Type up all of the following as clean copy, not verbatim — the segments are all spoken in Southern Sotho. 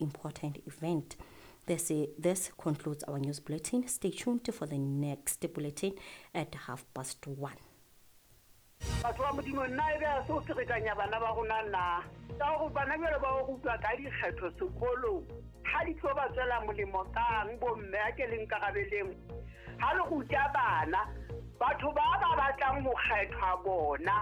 important event. This concludes our news bulletin. Stay tuned for the next bulletin at 1:30. Batho ba Modimo, nna e be a se o ferekanya bana ba rona na? Ka gore bana jwale ba o rutwa ka dikgetho sekolong, ha di tlo ba tswela molemo kang bomme a ke le nkarabeleng? Ha le ruta bana, batho ba ba batlang ho kgethwa bona,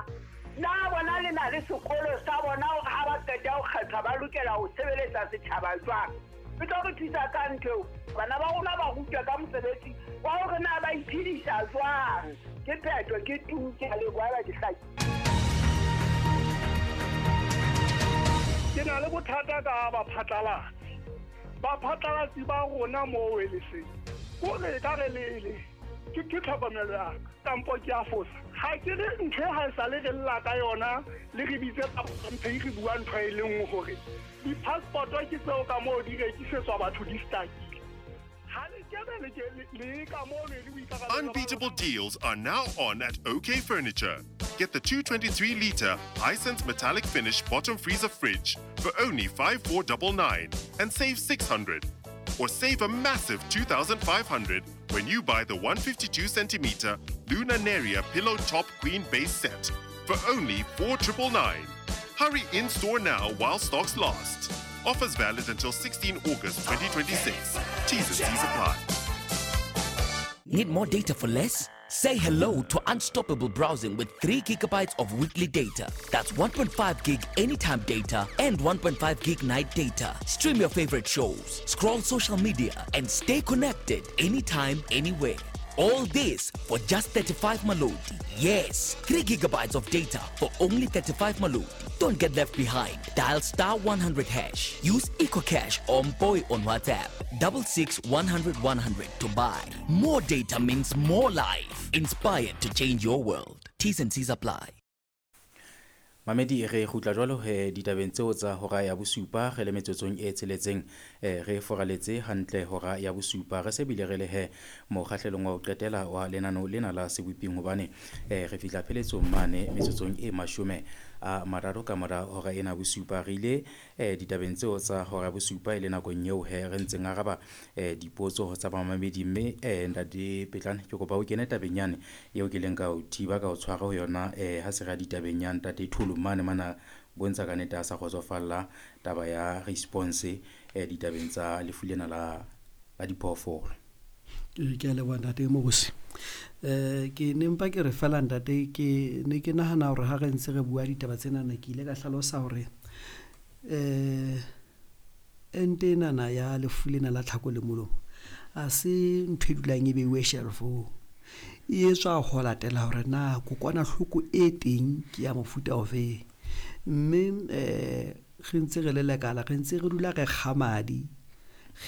na bona le na le sekolo sa bona hore ha ba qeta ho kgethwa ba lokela ho sebeletsa setjhaba jwang? E tlo re thusa ka ntho eo. Bana ba rona ba rutwa ka mosebetsi wa hore na ba iphedisa jwang. Ke phetho, ke tu, ke a leboha, ba ke hlaki. Ke na le bothata ka baphatlalatsi. Baphatlalatsi ba rona moo e le seng. Kore e ka re le le, ke tlhokomelo ya ka, kampo ke a fosa. Ha ke re ntho e ha e sale re lla ka yona, le re bitse tsa mphe re bua ntho e le nngwe hore di-passport-o ke tseo ka moo di rekisetswa batho di stakile. Ha le kebe le ke le ka moo le le boikarabelo ba Unbeatable deals are now on at OK Furniture. Get the 223-litre Hisense metallic finish bottom freezer fridge for only 5499 and save 600. Or save a massive 2500 when you buy the 152-centimeter Luna Neria pillow top queen base set for only 4999. Hurry in store now while stocks last. Offers valid until 16 August 2026. T's and C's apply. Need more data for less? Say hello to unstoppable browsing with 3 gigabytes of weekly data. That's 1.5 gig anytime data and 1.5 gig night data. Stream your favorite shows, scroll social media, and stay connected anytime, anywhere. All this for just 35 Maloti. Yes, 3 gigabytes of data for only 35 Maloti. Don't get left behind. Dial star 100 hash. Use EcoCash or Mpoy on WhatsApp. 66 100 100 to buy. More data means more life. Inspired to change your world. T's and C's apply. Mamedi re kgutla jwalo he ditabeng tseo tsa hora ya bosupa re le metsotsong e tsheletseng, re foraletse hantle hora ya bosupa re se bile re le he mokgahlelong wa ho qetela wa lenano lena la seboping hobane re fihla pheletsong mane metsotsong e 30 ka mora hora ena bosupa. Re ile ditabeng tseo tsa hora ya bosupa e le nakong eo he re ntseng araba dipotso tsa bamamedi, mme ntate Petlane ke kopa o kene tabeng yane eo ke leng ka o thiba ka o tshwara ho yona ha se re ya ditabeng ya ntate Tholo mane mana bontsha ka nnete a sa kgotsofalla taba ya response ditabeng tsa lefu lena la diphoofolo. Ke a leboha ntate Mokosi. Ke ne mpa ke re fela ntate, ke ne ke nahana hore ha re ntse re bua ditaba tsenana, ke ile ka hlalosa hore ente enana ya lefu lena la tlhako le molomo a se ntho e dulang e beiwe shelf-ong. E etswa ho latela hore na kokwanahloko e teng ke ya mofuta ofeng. Mme re ntse re le lekala, re ntse re dula re kga madi,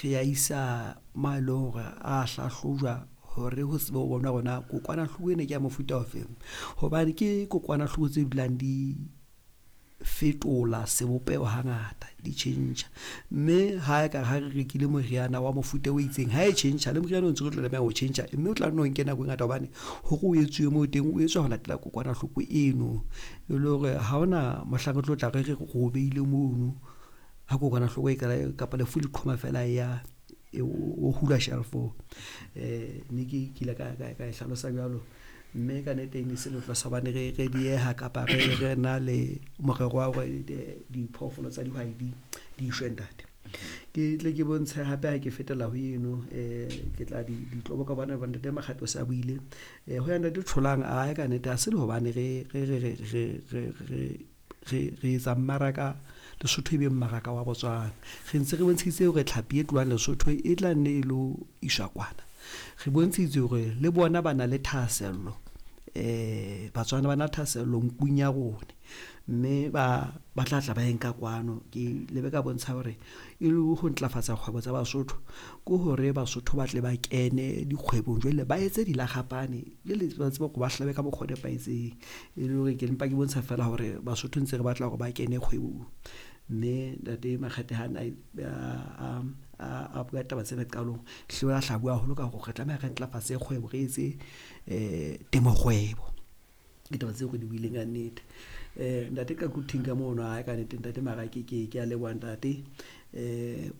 re a isa ma e leng hore a hlahlojwa hore ho tsebe ho bonwa hore na kokwanahloko ena ke ya mofuta ofeng. Hobane ke kokwanahloko tse dulang di fetola sebopeho hangata, di tjhentjha. Mme ha e ka ha re rekile moriana wa mofuta o itseng, ha e tjhentjha le moriana o ntse re tlo tlameha ho tjhentjha, mme o tla nno nke nako e ngata hobane hore o etsuwe moo teng, o etswa ho latela kokwanahloko eno. E le hore ha hona mohlang re tlo tla re re o beile mono, ha kokwanahloko e qala kapa lefu le qhoma fela ya o hula shelf-ong. Ne ke ile ka e hlalosa jwalo. Mme ka nnete e ne se letlo sa hobane re dieha kapa re na le morero wa hore diphoofolo tsa dihwai di shwe ntate. Ke tle ke bontshe hape ha ke fetela ho eno, ke tla ditlobo ka bona ntate Makgato sa buile. Ho ya ntate Tholang a ka nnete ha se le hobane re etsa mmaraka Lesotho e be mmaraka wa Botswana. Re ntse re bontshitse hore tlhapi e tlohang Lesotho e tla nne e lo iswa kwana. Re bontshitse hore le bona ba na le thahasello, Batswana ba na thahasello nkung ya rona, mme ba tla tla ba e nka kwano. Ke lebe ka bontsha hore e le ho ntlafatsa kgwebo tsa Basotho ke hore Basotho ba tle ba kene dikgwebong jwale ba etse dilakgapane, jwale ba tsebe hore ba hlabe ka mokgwa o nepahetseng. E le hore ke mpa ke bontsha fela hore Basotho ntse re batla hore ba kene kgwebong. Mme ntate Makgethe ha a bua taba tsena qalong, hle a hla bua haholo ka hore re tlameha re ntlafatse kgwebo, re etse temokgwebo. Ke taba tseo re di buileng ka nnete. Ntate ka kuthing ka mono, ha ka nnete ntate Marake, ke a leboha ntate. Um